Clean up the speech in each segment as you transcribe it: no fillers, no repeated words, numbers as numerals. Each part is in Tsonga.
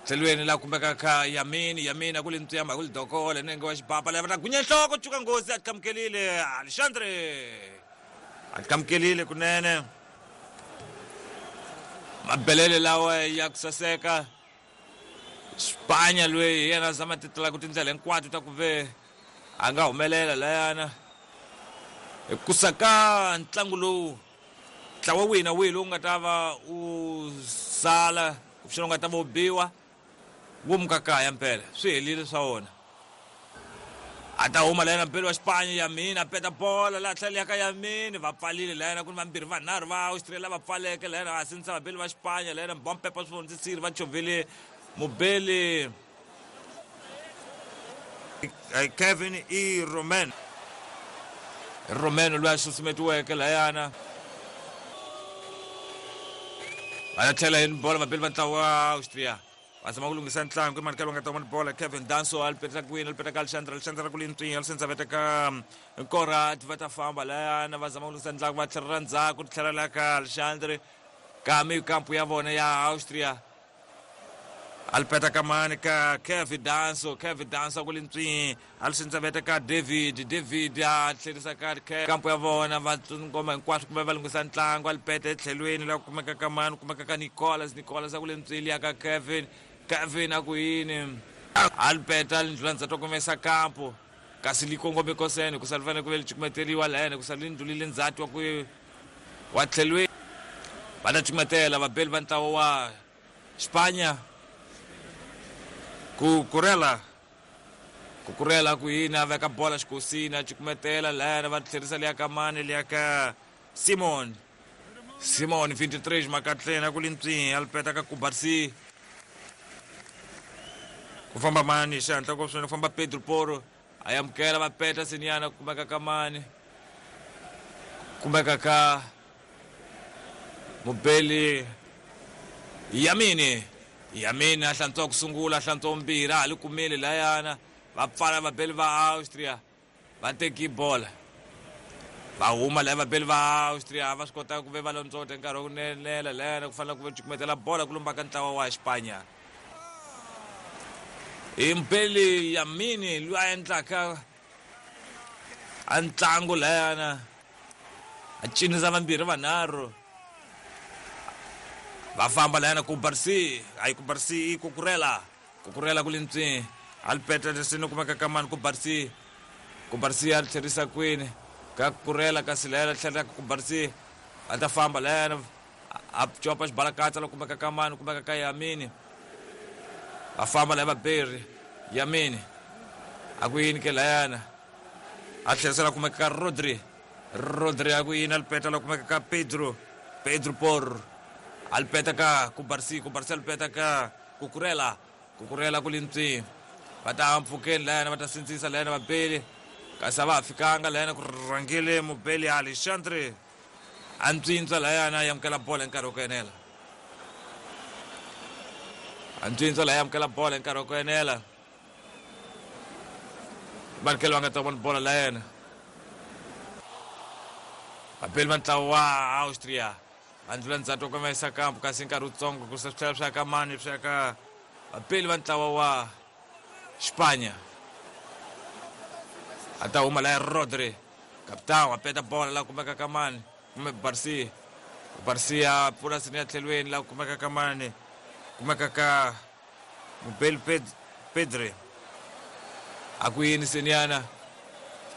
Tlhelweni la kumeka ka Yamini, Yamini a ku li ntswiyamba a ku li dokole nenge wa xibapa lava ta gunya nhloko cuka nghozi a tikamukelile Alexandre a tikamukelile kunene mabelele lawa ya ku saseka Spanya loyi hi yena a zama ti tlaku tindlela hinkwato ta ku ve a nga humelela layana hi ku saka ntlangu lowu ntlawa wihi na wihi lowu nga ta va wu sala kumbexana wu nga ta va wu biwa wu muka kaya mpela swi helile swa wona a ta huma layena mpeli wa xipanya yamini a peta bola laha tlhelo ya ka yamini va pfalile layena ku ni vambirhi vanharhu va Austria lava pfaleke layena va sindzisa vabeli va xipanya layena bompepa swi vondzisile va chovhile mubeli Kevin E Roman Romeno loyi a susumetiweke layana va ya tlhela hi bolo vabeli va ntlawa wa Austria va zama ku lunghisa ntlangu i mani ka va nga ta vona bola Kevin Danso a li petela kwini a li peta ka Alexandre Alexandre ku lintswinya li sendza veta ka Konrad va ta famba layana va zama ku lunghisa ntlangu va tlhelela ndzhaku tlhela la ka Alexandre ka mikampu ya vona ya Austria alipeta kamani ka Kevin Danso Kevin Danso ku lintswi alisindza ka David David a tlherisa ka kampo ya vona va ngoma hinkwaswo kumbe va lunghisa ntlangu alipeta etlhelweni la kumeka ka mani kumeka ka Nicolas Nicolas a ku lintswili ya ka Kevin Kevin a ku yini alipeta lindlula ndzhaku to kumesa kampo kasi li kongome kosene ku sa li fanele ku ve li cukumeteriwa lahayana ku sa li ndlulile ndzhati wa ku wa tlhelweni va ta cukumetela vabeli va ntlawa wa Spanya ku kurela ku kurela ku yini a veka bola xikosini a cukumetela lahayana va tlherisa liya ka mani liya ka Simon Simon 23 makatleni a ku li ntswi a li peta ka Kubarsi ku famba mani hi xihatla ku swinene ku famba Pedro Poro a amukela va peta seniyana ku kumeka ka mani kumeka ka mubeli Yamini Yamini a hlantswa ku sungula a hlantswa vumbirhi a ha li kumile layana va pfala vabeli va Austria va teki bola va huma laya vabeli va Austria va swi kota ku ve va londzota nkarhi wa ku nenela layana ku fanele ku ve cukumetela bola ku lumba ka ntlawa wa Xipanya hi mubeli Yamini loyi a endlaka a ntlangu layana a cinisa vambirhi vanharhu va famba layana ku barsi hayi ku barsi i kukurela kukurela ku lintswi a li peta lesini kumeka ka mani ku barsi ku barsi a li tlherisa kwini ka kukurela kasi layana tlherisa ku barsi a ta famba layana a copa xibalakatsa la kumeka ka mani kumeka ka Yamini va famba laya vaberi Yamini a ku yini ke layana a tlherisela kumeka ka Rodri Rodri a ku yini a li peta la kumeka ka Pedro Pedro Por a li peta ka Kubarsi Kubarsi a li peta ka Kukurela Kukurela ku lintswi va ta mpfhukeni layana va ta sindzisa layana vabeli kasi a va ha fikanga layana ku rhangile mubeli Alexandre a ntswintswa layana a amukela bolo hi nkarhi wa ku enela a ntswintswa laya amukela bolo hi nkarhi wa ku enela vanikeli va nga ta vona bolo la yena vabeli va ntlawa wa Austria va ndlula ndzhaku wa komesa kampu kasi nkarhi wutsongo ku se swi tlhela swi ya ka mani swi ya ka vabeli va ntlawa wa Xipanya a ta huma laya Rodri Capitão a peta bola la kumeka ka mani kumbe Barcia Barcia pfula sini ya tlhelweni la kumeka ka mani kumeka ka Mubeli Pedri a ku yini seniyana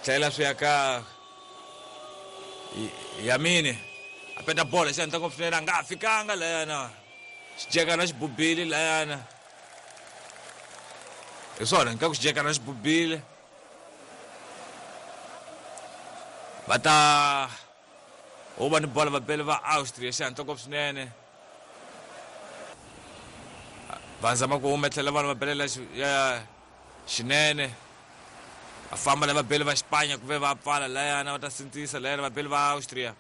tlhela swi ya ka Yamini a peta bola xi endla ngopfu swinene a nga ha fikanga layana xijekana xi bubile layana hi swona nga ku xijekana xi bubile va ta huma ni bola vabeli va Austria xihatla ngopfu swinene va zama ku huma tlhela vanhu va belela ya xinene va famba la vabeli va Xipanya ku ve va pfala layana va ta sindzisa layana vabeli va Austria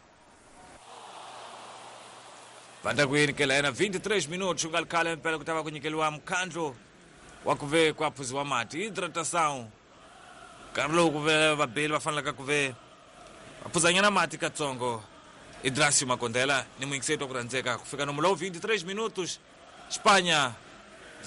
va ta ku yini ke layana 23 minutos ku nga ri khale mpela ku ta va ku nyikeliwa mukhandlu wa ku ve ku aphuziwa mati hidratação nkarhi lowu ku ve vabeli va fanelaka ku ve va phuzanyana mati katsongo Idrasio Makondela ni muyingiseti wa ku rhandzeka ku fika nomu lowu 23 minutos Xipanya